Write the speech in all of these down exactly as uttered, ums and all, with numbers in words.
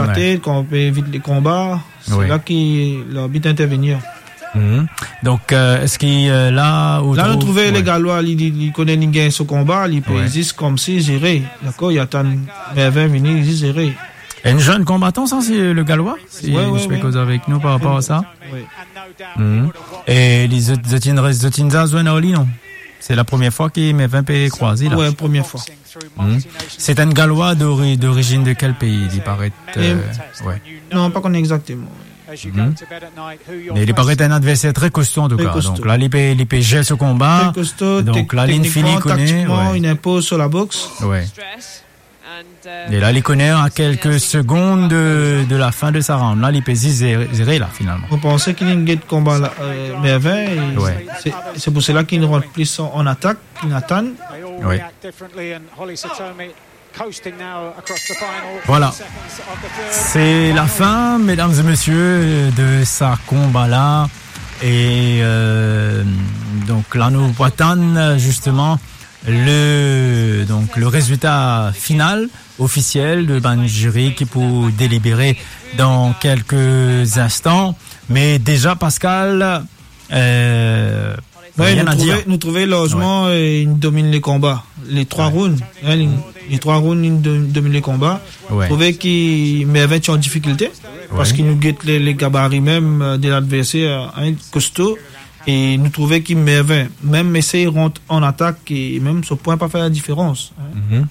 Ater, kan pe evit le konba, se la ki larbit intervenir. Mhm. Donk, euh, eski, euh, la, ou trouve le Galwa, li, li, li kone li gagn so konba, li pe zis koumsi zere, dakor, li atann Mervin vini, li zis zere. Enn zenn konbatan sa, se le Galwa, si ou pe koz avek nou par rapor a sa. Wi. Mhm. E li, zot, zot inn res, zot inn zwenn ar li, non? Se la premie fwa ki Mervin pe krwaze la. Wi, premie fwa. Mhm. Se enn Galwa d'ori-, d'orizinn de kel pei, li paret, euh, wi. Non, pa kone exakteman. Mhm. Me li paret enn adverser tre kosto, an tou ka. Tre kosto. Donk la, li pe, li pe zer so konba. Tre kosto, donk la, li fini, teknikman, taktikman, wi, li inpoz so laboks. Wi. E la, li kone a kelke segond de, de la fin de sa round la, li pe zis zere, zere la, finalman. Mo panse ki li get konba la, euh, Mervin, e se, se pou sela ki li rant plis an, an atak, ki li atann. Wi. Voilà. Se la fin, medam e mesie, de sa konba la. E, euh, donk la, nou pou atann, zisteman, le, donk, le rezilta final, ofisiel de bann ziri ki pou delibere dan kelke zinstan. Me deza, Pascal, euh, rien à dire. Wi, nou trouve, nou trouve larzman, euh, li dominn le konba. Le trwa round, hein, li, le trwa round, li do-, dominn le konba. Wi. Trouve ki Mervin ti an difikilte, wi, parski nou get le, le gabari mem, euh, de ladverser, hein, kosto. E nou trouve ki Mervin mem esey rant an atak e mem so pwin pa fer ladiferans, hein. Mhm.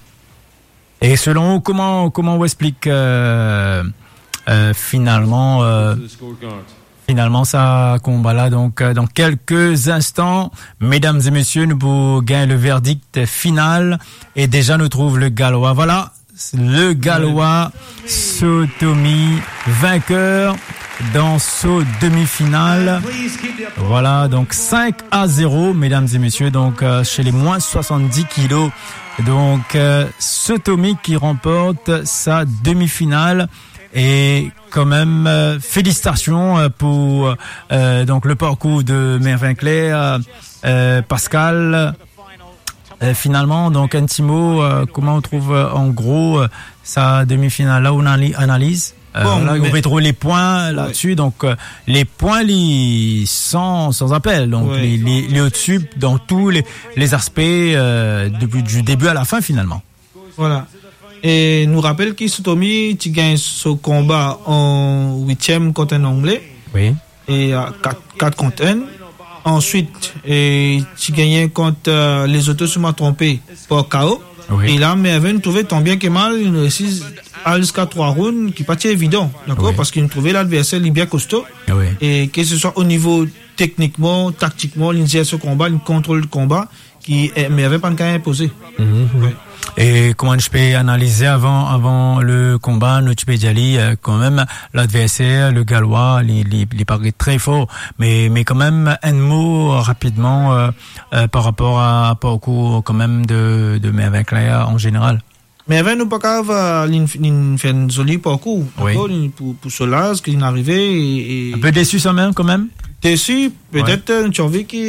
E selon ou, kouma, kouma ou explik, euh, euh, finalman, euh, finalman sa konba la? Donk, euh, dan kelke zinstan, medam e mesie, nou pou gagn le verdict final. E deza, nou trouve le Galwa. Voilà, le Galwa Sotomi, vainqueur dans ce demi-finale. Voilà, donc cinq à zéro, mesdames et messieurs, donc, euh, chez les moins soixante-dix kilos. Donc, euh, Sotomi qui remporte sa demi-finale. Et quand même, euh, félicitations, euh, pour, euh, donc, le parcours de Mervin Claire, euh, euh, Pascal. Euh, finalman, donk, enn ti mo, euh, kouma ou trouve, euh, an gro, euh, sa demi-final la, ou anali-, analiz? Euh, bon, voilà, ou pe trouve le pwin ladsi, donk, euh, le pwin, li san, san apel, donk, li, li, li odsi dan tou le, le zaspe, euh, depi, du début à la fin, finalman. Voilà. E nou rapel ki Sotomi ti gagn so konba an witiem kont enn Angle. Wi. E a kat, kat kont enn. Answit, e ti gagne kont, euh, Lesotho, si mo pa tronpe, par K O. Wi. E la, Mervin trouve, tan bien ke mal, li resi al ziska trwa round, ki pa ti evidan, dakor? Wi. Parski nou trouve ladverser, li bien kosto. Wi. E ke se swa o nivo teknikman, taktikman, li zer so konba, li kontrol konba, ki, eh, Mervin pa'nn kapav inpoze. Mhm. Wi. E kouma nou ti pe analize avan, avan le konba, nou ti pe dir li, euh, kanmem, ladverser, le Galwa, li, li, li paret tre for. Me, me kanmem, enn mo rapidman, euh, euh, par rapor a parkour kanmem de, de Mervin Claire an zeneral. Mervin, nou pa kapav, euh, li, li fer enn zoli parkour, wi, dakor, li, pou, pou so laz, ki li arive, e, e... Enn pe desi kanmem, kanmem? Desi, petet, wi, euh, nou ti anvi ki...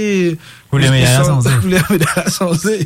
Kouleur medal la sanze. Kouleur medal la sanze.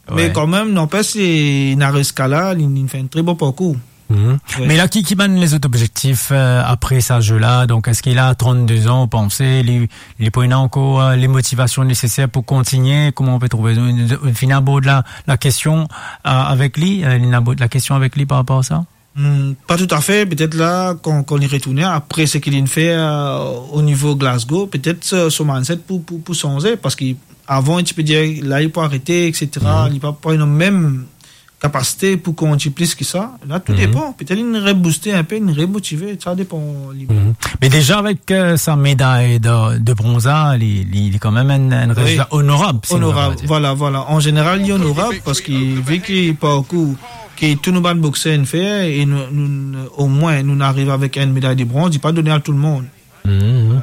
Wi. Me kanmem, nanpes, li, li ariv ziska la, li, li fer enn tre bon parkour. Mhm. Wi. Me la, ki, ki bann lezot obzektif, euh, apre sa ze la? Donk, eski li a trannde zan, ou panse, li, li pou ena ankor, euh, le motivasion neseser pou kontigne? Kouma ou pe trouve? Ou, ou finn abord la, la kestion, euh, avek li, euh, ou finn abord la kestion avek li par rapor a sa? Hmm, pa toutafe, petet la, kan, kan li retourne, apre seki li finn fer, euh, o nivo Glasgow, petet so, so mindset pou, pou, pou sanze, parski avan, ti pe dir, la, li pou arete, et cetera. Mhm. Li pa, pa ena mem kapasite pou kontini plis ki sa. La, tou depan. Petet li rebouste enpe, li remotive, sa depan li. Mhm. Me deza avek, euh, sa meday de, de bronz la, li, li, li kanmem enn, enn rezilta onorab, si nou pe dir. Onorab, voilà, voilà. An zeneral, li onorab, parski vi ki parkour ki tou nou bann bokser inn fer, e nou, nou, omwin, nou ariv avek enn meday de bronz, li pa done a tou lemonn. Mhm.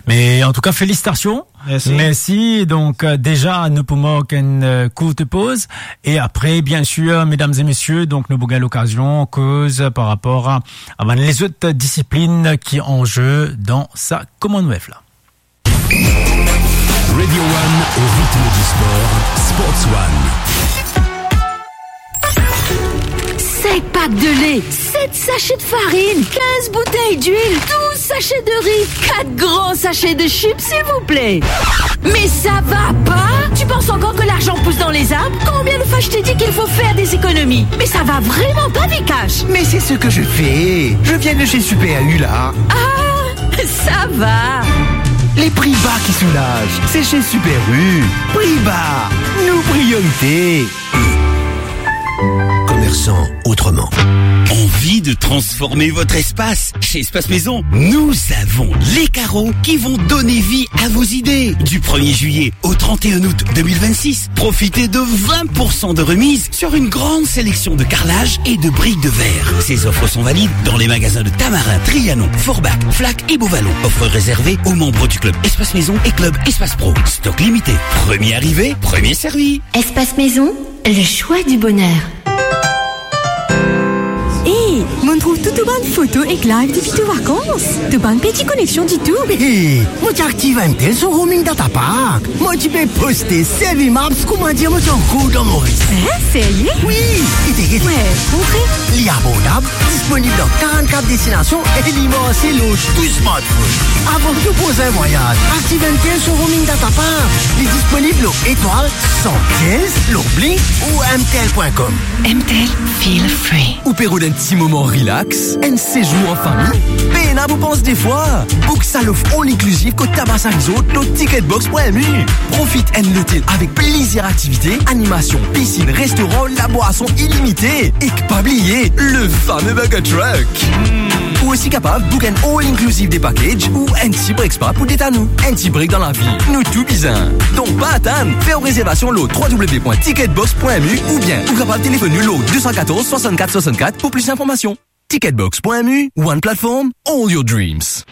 Me antouka, felisitasion. Mersi. Mersi. Donk, euh, deza, nou pou mark enn, euh, kourt poz. E apre, biensir, medam e mesie, donk, nou pou gagn lokazion koz par rapor a, a bann lezot disiplin ki an ze dan sa Commonwealth la. Radio One, au rythme du sport, Sports One. Pack de lait, sept sachets de farine, quinze bouteilles d'huile, douze sachets de riz, quatre grands sachets de chips, s'il vous plaît. Mais ça va pas ? Tu penses encore que l'argent pousse dans les arbres ? Combien de fois je t'ai dit qu'il faut faire des économies ? Mais ça va vraiment pas, Vikash. Mais c'est ce que je fais. Je viens de chez Super U, là. Ah, ça va. Les prix bas qui soulagent, c'est chez Super U. Prix bas, nos priorités. Commerçant autrement. Envie de transformer votre espace ? Chez Espace Maison, nous avons les carreaux qui vont donner vie à vos idées. Du premier juillet au trente et un août deux mille vingt-six, profitez de vingt pour cent de remise sur une grande sélection de carrelages et de briques de verre. Ces offres sont valides dans les magasins de Tamarin, Trianon, Forbach, Flac et Beauvallon. Offre réservée aux membres du club Espace Maison et club Espace Pro. Stock limité. Premier arrivé, premier servi. Espace Maison, le choix du bonheur. Hey, mo trouv tou to bann foto ek live depi to vakans. To pa peti koneksion ditou. Hey, mo ti aktiv M T L so roaming data pack. Mo ti pe poste, servi Maps, kouma dir mo ti ankor dan Moris. Hein, serye? Wi, gete, gete. Wi, montre. Li abordab, disponib dan karant-kat destinasion e li marse lor tou smartphone. Avan tou prosin vwayaz, aktiv M T L so roaming data pack. Li disponib lor etwal san kenz, lor Blink ou M T L point com. M T L, feel free. Ou pe rod enn ti moman relax, enn sezour an fami? Pena pou pans de fwa. Book sa lof all inclusive kot Tabasa Resort lor ticketbox point M U. Profit enn lotel avek plizier aktivite, animasion, pisinn, restoran, labwason ilimite. Ek pa bliye, le fame Burger Truck. Ou osi kapav book enn all inclusive de package ou enn ti break spa pou detann ou. Enn ti break dan lavi, nou tou bizin. Donk pa atann, fer ou rezervasion lor w w w point ticketbox point m u oubien ou kapav telefonn nou lor de san katorz, swasannkat, swasannkat pou plis linformasion. Ticketbox point m u, one platform, all your dreams.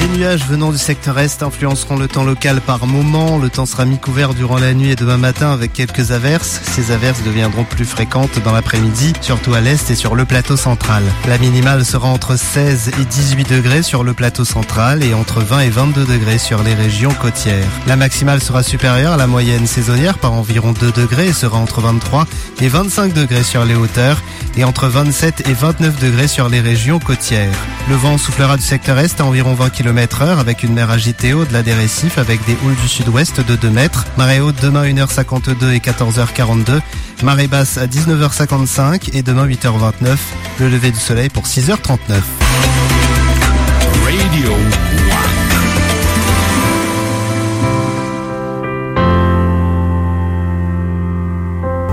Des nuages venant du secteur est influenceront le temps local par moments. Le temps sera mi-couvert durant la nuit et demain matin avec quelques averses. Ces averses deviendront plus fréquentes dans l'après-midi, surtout à l'est et sur le plateau central. La minimale sera entre seize et dix-huit degrés sur le plateau central et entre vingt et vingt-deux degrés sur les régions côtières. La maximale sera supérieure à la moyenne saisonnière par environ deux degrés et sera entre vingt-trois et vingt-cinq degrés sur les hauteurs et entre vingt-sept et vingt-neuf degrés sur les régions côtières. Le vent soufflera du secteur est à environ vingt kilomètres heure avec une mer agitée au-delà des récifs avec des houles du sud-ouest de deux mètres. Marée haute demain une heure cinquante-deux et quatorze heures quarante-deux. Marée basse à dix-neuf heures cinquante-cinq et demain huit heures vingt-neuf. Le lever du soleil pour six heures trente-neuf. Radio One.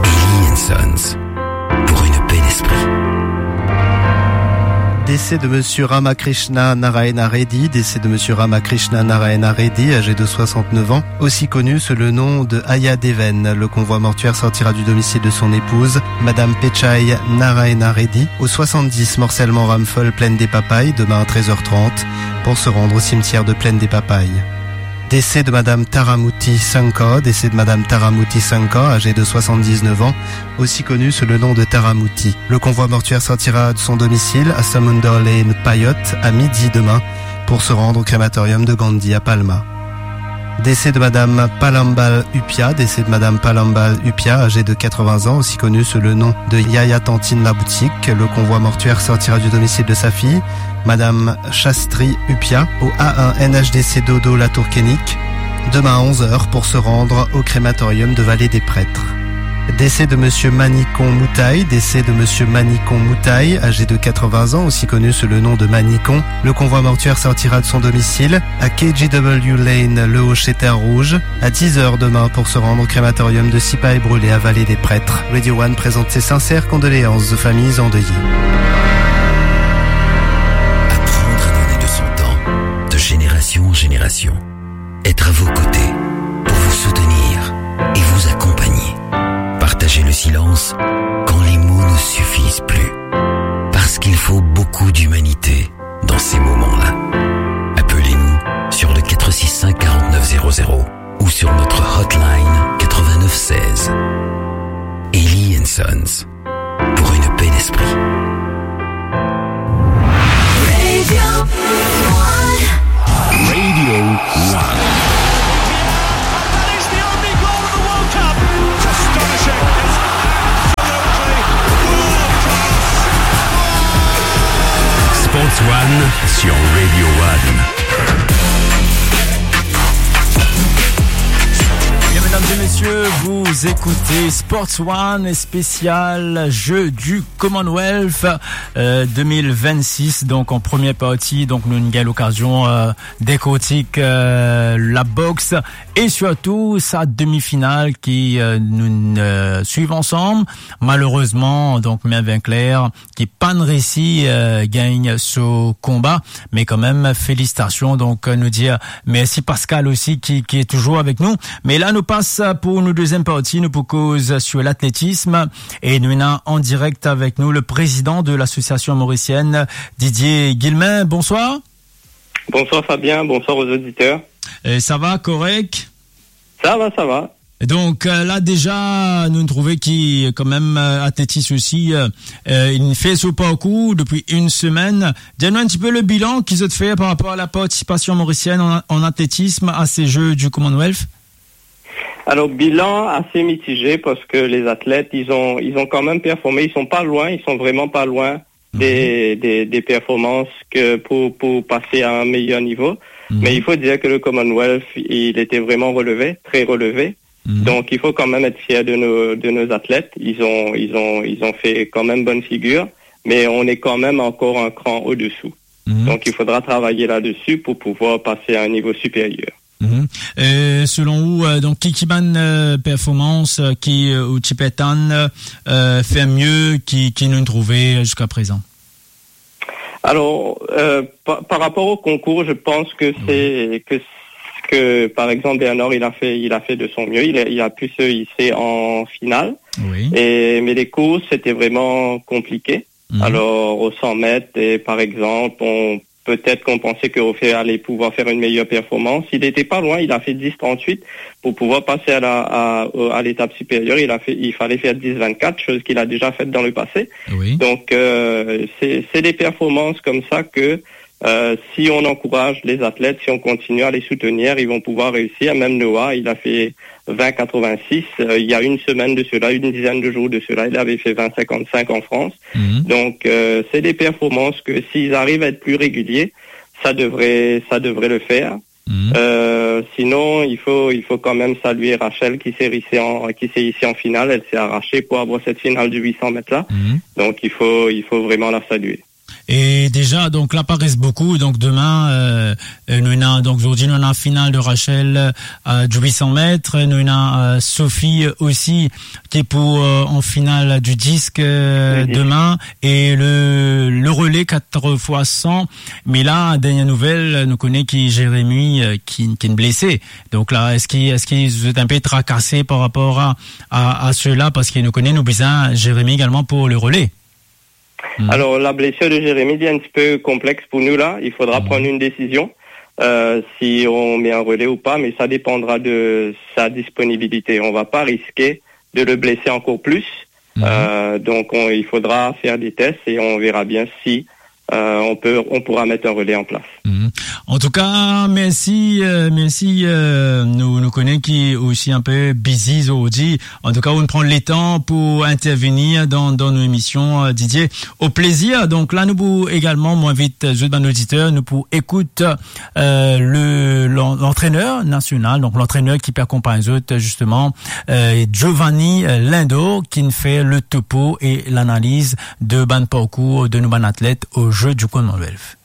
Eli and Sons, pour une paix d'esprit. Décès de monsieur Ramakrishna Narayana Reddy, décès de monsieur Ramakrishna Narayana Reddy, âgé de soixante-neuf ans, aussi connu sous le nom de Aya Deven. Le convoi mortuaire sortira du domicile de son épouse, madame Pechai Narayana Reddy, au soixante-dix Morcellement Ramphol, Plaine des Papayes, demain à treize heures trente, pour se rendre au cimetière de Plaine des Papayes. Décès de madame Taramouti Sankar, décès de madame Taramouti Sankar, âgée de soixante-dix-neuf ans, aussi connue sous le nom de Taramouti. Le convoi mortuaire sortira de son domicile à Samundar Lane, Payot, à midi demain, pour se rendre au crématorium de Gandhi à Palma. Décès de madame Palambal Upia, décès de madame Palambal Upia, âgée de quatre-vingts ans, aussi connue sous le nom de Yaya Tantine Laboutique. Le convoi mortuaire sortira du domicile de sa fille, madame Shastri Upia, au A un N H D C Dodo Latour Kenick, demain à onze heures pour se rendre au crématorium de Vallée des Prêtres. Décès de monsieur Manicon Moutaye, décès de monsieur Manicon Moutaye, âgé de quatre-vingts ans, aussi connu sous le nom de Manicon. Le convoi mortuaire sortira de son domicile à K G W Lane, Le Hochet, Terre-Rouge, à dix heures demain pour se rendre au crématorium de Sipahi Brule à Vallée des Prêtres. Radio One présente ses sincères condoléances aux familles endeuillées. Apprendre à donner de son temps, de génération en génération. Être à vos côtés, pour vous soutenir et vous accompagner. Partager le silence quand les mots ne suffisent plus. Parce qu'il faut beaucoup d'humanité dans ces moments-là. Appelez-nous sur le quatre six cinq quarante-neuf zéro zéro ou sur notre hotline quatre-vingt-neuf seize. Eli and Sons, pour une paix d'esprit. Radio One. Sur Radio One. Bien, mesdames et messieurs, vous écoutez Sports One spécial Jeux du Commonwealth, euh, deux mille vingt-six. Donc, en première partie, donc, nou gagn lokazion, euh, décortiquer, euh, la boxe et surtout sa demi-finale ki, euh, nou, euh, suiv ansanm. Malerezman, donk, Mervin Claire ki pa'nn resi, euh, gagn so konba, me kanmem, felisitasion. Donk, euh, nou dir mersi Pascal osi ki, ki touzour avek nou. Me la, nou pas pou nou deziem parti, nou pou koz sur latletism. E nou ena an direk avek nou le président de l'association mauricienne, Didier Guillemin. Bonsoir. Bonsoir Fabien, bonsoir aux auditeurs. Euh, sa va, korek? Sa va, sa va. Donk, euh, la deza, nou trouve ki, kanmem, euh, atletis osi, euh, euh, inn fer so parkour depi enn semenn. Dir nou enn tipe le bilan ki zot fer par rapor a la partisipasion mauricienne an, an atletism a se Jeux du Commonwealth. Alors, bilan assez mitigé parce que les athlètes, ils ont, ils ont quand même performé, ils sont pas loin, ils sont vraiment pas loin des, des, des performances que pour, pour passer à un meilleur niveau. Mais il faut dire que le Commonwealth, il était vraiment relevé, très relevé. Donc, il faut quand même être fier de nos, de nos athlètes. Ils ont, ils ont, ils ont fait quand même bonne figure, mais on est quand même encore un cran au-dessous. Donc, il faudra travailler là-dessus pour pouvoir passer à un niveau supérieur. Mhm. E selon ou, euh, donk, ki, ki bann, euh, performans, euh, ki, euh, ou ti pe atann, euh, fer mie ki, ki nou trouve ziska prezan? Alors, euh, par, par rapport au concours, je pense que c'est, que, que, par exemple, Bernard, il a fait, il a fait de son mieux. Il a, il a pu se hisser en finale. Oui. Et, mais les courses, c'était vraiment compliqué. Alors, au cent mètres, et par exemple, on, peut-être qu'on pensait qu'on fait, allait pouvoir faire une meilleure performance. Il était pas loin, il a fait dix trente-huit. Pour pouvoir passer à la, à, au, à l'étape supérieure, il a fait, il fallait faire dix vingt-quatre, chose qu'il a déjà faite dans le passé. Oui. Donc, euh, c'est, c'est des performances comme ça que, euh, si on encourage les athlètes, si on continue à les soutenir, ils vont pouvoir réussir. Même Noah, il a fait vingt quatre-vingt-six. Euh, il y a une semaine de cela, une dizaine de jours de cela, il avait fait vingt cinquante-cinq en France. Donc, euh, c'est des performances que s'ils arrivent à être plus réguliers, ça devrait, ça devrait le faire. Euh, sinon, il faut, il faut quand même saluer Rachel qui s'est hissée en, qui s'est hissée en finale. Elle s'est arrachée pour avoir cette finale du huit cents mètres là. Donc, il faut, il faut vraiment la saluer. E deza, donk, la pa res boukou. Donk, demin, euh, euh, nou ena, donk, zordi, nou ena final de Rachel, euh, du huit cents mètres. Nou ena, euh, Sophie, euh, osi, ki pou, euh, an final du disque, euh, demin. E le, le relais quatre fois cent. Me la, dernie nouvel, nou kone ki Jérémy, euh, ki, ki blese. Donk la, eski, eski zot inpe trakase par rapor a, a, a sela? Parski nou kone nou bizin Jérémy egalman pou le relais. Alors, la blessure de Jérémy, c'est un petit peu complexe pour nous là. Il faudra prendre une décision, euh, si on met un relais ou pas, mais ça dépendra de sa disponibilité. On va pas risquer de le blesser encore plus. Euh, donc, on, il faudra faire des tests et on verra bien si, euh, on peut, on pourra mettre un relais en place. An tou ka, mersi, euh, mersi, euh, nou, nou kone ki osi inpe bizi zordi. An tou ka, ou pran letan pou intervenir dan, dan nou emision, euh, Didier. Au plaisir. Donk la, nou pou egalman, mo invit zot bann oditer, nou pou ekout, euh, le, l'an-, l'antrener nasional, donk l'antrener ki pe akonpagn zot, zisteman, euh, Giovanni, euh, Lindor, ki'nn fer le topo e lanaliz de bann parkour de nou bann atlet au Jeux du Commonwealth.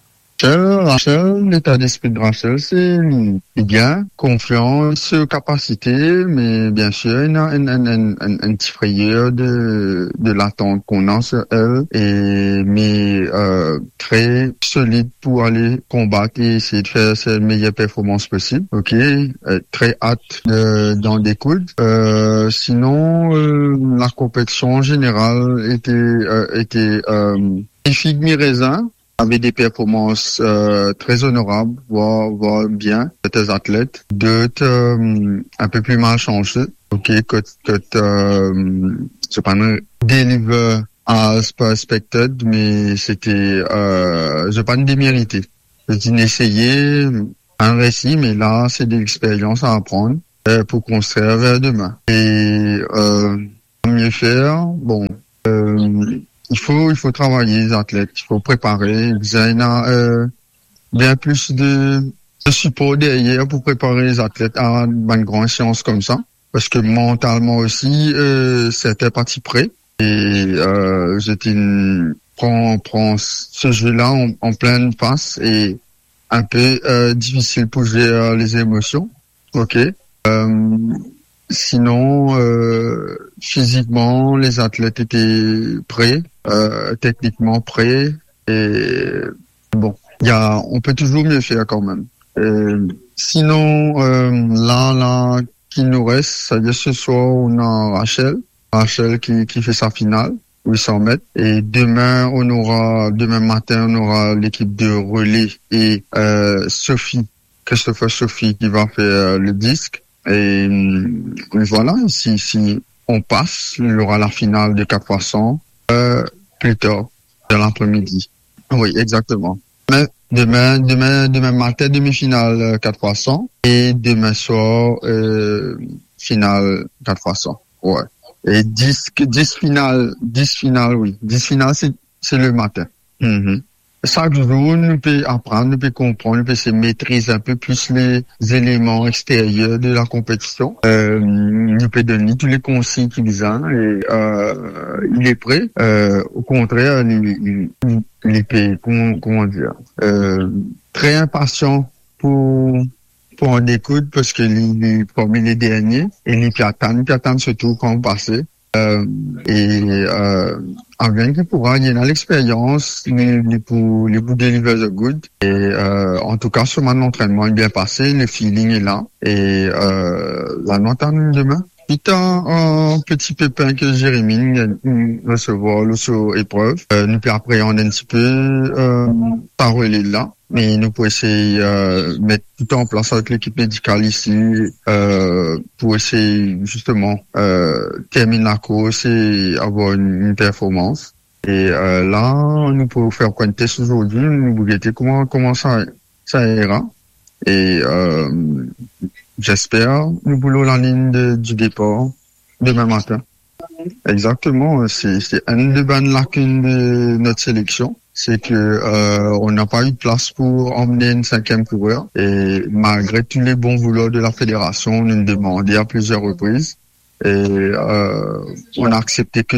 Rachel, Rachel, leta despri de Rachel, se li, li bien, konfian, se kapasite, me biensir, ena enn, enn, enn, enn, enn ti frayer de, de latant ki ena sur elle, e, me, euh, tre solid pou ale konbat e eseye de fer se meyer performans posib, ok? Euh, tre at, euh, dan dekoud. Euh, sinon, euh, la konpetision an zeneral ete, euh, ete, euh, mi fig mi rezin. Ave de performans, euh, tre onorab, voir, voir bien, serten atlet. Dot, euh, inpe pli malsanse. Ok, kot, kot, euh, zot pa'nn deliver as per expected, me sete, euh, zot pa'nn demerite. Zot inn eseye, pa'nn resi, me la, se de lexperyans a aprann, euh, pou konstrir ver demin. E, euh, mie fer, bon, euh, il faut, il faut travay les athlètes, il faut préparer, bizin ena, euh, bien plus de, de support derrière pour préparer les athlètes à une grande séance comme ça. Parce que mentalement aussi, euh, certains partis prêts. Et, euh, j'étais une, prends, prends ce jeu-là en, en pleine face et un peu, euh, difficile pour gérer les émotions. Ok. Euh, sinon, euh, physiquement, les athlètes étaient prêts, euh, techniquement prêts. Et bon, il y a, on peut toujours mieux faire quand même. Euh, sinon, euh, là, là, qui nous reste, c'est-à-dire ce soir, on a Rachel. Rachel qui, qui fait sa finale, huit cents mètres. Et demain, on aura, demain matin, on aura l'équipe de relais et, euh, Sophie, Christopher Sophie qui va faire, euh, le disque. Et, euh, voilà, si, si on passe, il y aura la finale de quatre fois cent, euh, plus tard, dans l'après-midi. Oui, exactement. Mais demain, demain, demain matin, demi-finale, euh, quatre fois cent. Et demain soir, euh, finale quatre fois cent. Ouais. Et dix, dix finales, dix finales, oui. Dix finales, c'est, c'est le matin. Mhm. Chaque jour, nous peut apprendre, nous peut comprendre, nous peut se maîtriser un peu plus les éléments extérieurs de la compétition. Euh, nous peut donner tous les conseils qu'il a et, euh, il est prêt. Euh, au contraire, il, il, il, il peut, comment, comment dire, euh, très impatient pour, pour en écouter parce que il, il est parmi les derniers et il peut attendre, il peut attendre surtout quand on passe. Euh, et, euh, avec qui pourra, il a l'expérience, il, il pour, il pour deliver the good. Et, euh, en tout cas, sur mon entraînement est bien passé, le feeling est là. Et, euh, la note à demain. Suite à un petit pépin que Jérémy a recevoir là sur épreuve, euh, nous peut appréhender un petit peu, euh, par relais là. Mais nous pour essayer, euh, mettre tout en place avec l'équipe médicale ici, euh, pour essayer justement, euh, terminer la course et avoir une, une performance. Et, euh, là, nous pouvons faire un test aujourd'hui, nous pour guetter comment, comment ça, ça ira. Et, euh, j'espère nous boulons la ligne de, du départ demain matin. Exactement, c'est, c'est une de bonnes lacunes de notre sélection, c'est que, euh, on n'a pas eu de place pour emmener une cinquième coureur. Et malgré tous les bons vouloirs de la fédération, on nous demandait à plusieurs reprises. Et, euh, on a accepté que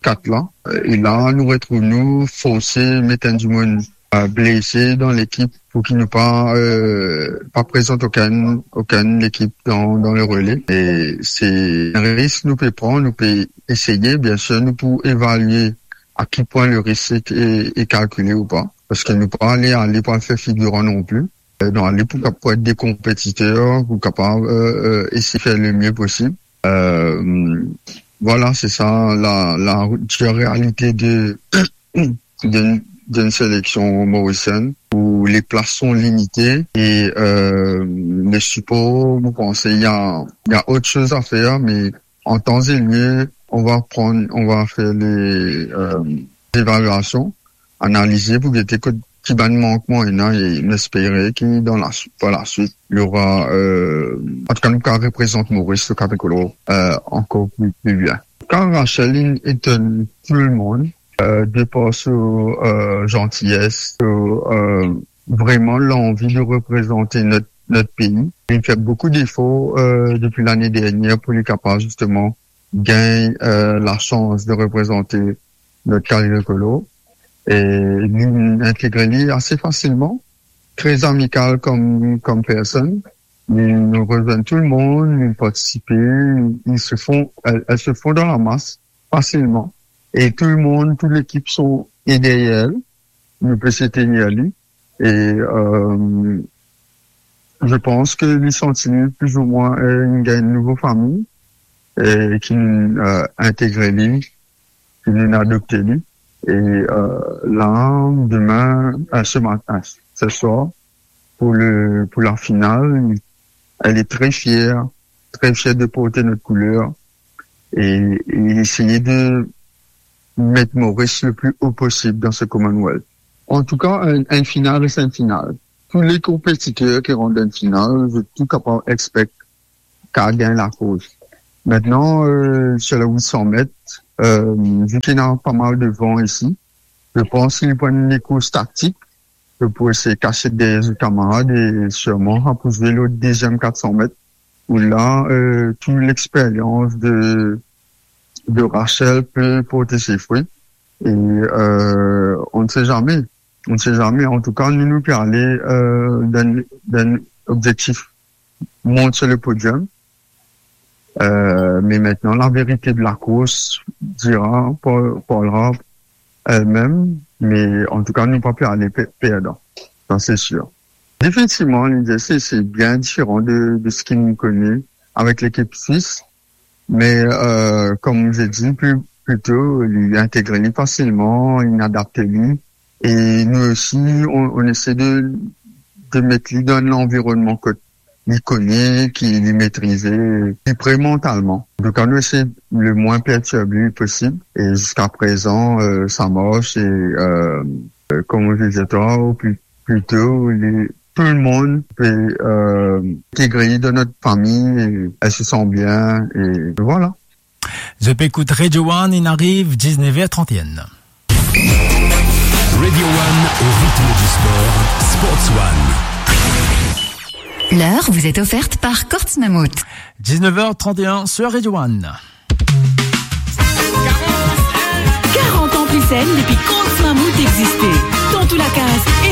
quatre la. Euh, e la, nou retrouv nou forse met enn dimoun, euh, blese dan lekip pou ki nou pa, euh, pa prezant okenn, okenn lekip dan, dan le rele. E se enn risk nou pe pran, nou pe eseye, biensir, nou pou evalie a ki pwin le risk e, e, e kalkile ou pa. Paske nou pa ale, ale pou al fer figiran non pli. Euh, nou ale pou, pou et de konpetiter, pou kapav, euh, euh, eseye fer le mie posib. Euh, voilà, c'est ça la, la dure réalité de, d'une, d'une sélection mauricienne où les places sont limitées et, euh, le support, vous pensez, il y a, il y a autre chose à faire, mais en temps et lieu, on va prendre, on va faire les, euh, évaluations, analize pou gete kot ki bann mankman ena, e nou espere ki dan la, par la suite, il y aura, euh, en tout cas, nou ka reprezant Moris, le Capricolore, euh, ankor pli, pli bien. Kan Rachel, li etonn tou le mond, euh, de par so, euh, gentillesse, so, euh, vraiment l'envie de représenter notre, notre pays. Il fait beaucoup d'efforts, euh, depuis l'année dernière pour li kapav justement gagn, euh, la chance de reprezante not Capricolore. E li integre li ase fasilman, tre amikal kom, kom personn. Li rezwenn tou le mond, li partisipe, li se fon, elle, elle se fond dans la masse facilement. Et tout le monde, toute l'équipe sont, est derrière elle. Nou pe soutenir li. E, euh, je pense que li santi li plis ou mwin, euh, li gagn nouvo fami, e ki, euh, integre li, ki vinn adopte li. E, euh, la, demin, euh, ce matin, ce soir, pour le, pour la finale, elle est très fière, très fière de porter notre couleur et, et essayer de mettre Maurice le plus haut possible dans ce Commonwealth. En tout cas, un, un final reste un final. Tous les compétiteurs qui rentrent dans une finale, je suis capable expect qu'à gagner la course. Maintenant, euh, sur les huit cents mètres, euh, vu qu'il y a pas mal de vent ici, je pense qu'il prend une course tactique, euh, pour essayer de cacher derrière le camarade et sûrement pour jouer le deuxième quatre cents mètres, où là, euh, toute l'expérience de, de Rachel peut porter ses fruits. Et, euh, on ne sait jamais. On ne sait jamais. En tout cas, nous, nous pouvons aller, euh, dans, dans l'objectif, monter sur le podium. Euh, mais maintenant, la vérité de la course dira, par-, parlera elle-même. Mais en tout cas, nous pas pu aller pe-, perdant. Ça, c'est sûr. Définitivement, l'I D S C, c'est bien différent de, de ce qu'il nous connaît avec l'équipe suisse. Mais, euh, comme j'ai dit plus, plus tôt, il intègre facilement, il adapte lui. Et nous aussi, on, on essaie de, de mettre lui dans l'environnement que li kone, ki li metrize, li pre mantalman. Antouka, nou esey le mwin pertirb li posib. E ziska prezan, euh, sa mars, e, euh, euh, kouma mo dir twa, ou pli, plito, li, tou lemonn pe, euh, integre dan nou fami, e, e se san bien, e vwala. Zot pe ekout Radio One, inn ariv diznef er trant e enn. Radio One au rythme du sport, Sports One. L'heure vous est offerte par Courts Mammouth. Diznef er trant e enn sur Radio One. Quarante ans plus saine depuis Courts Mammouth existait. Dans tout la case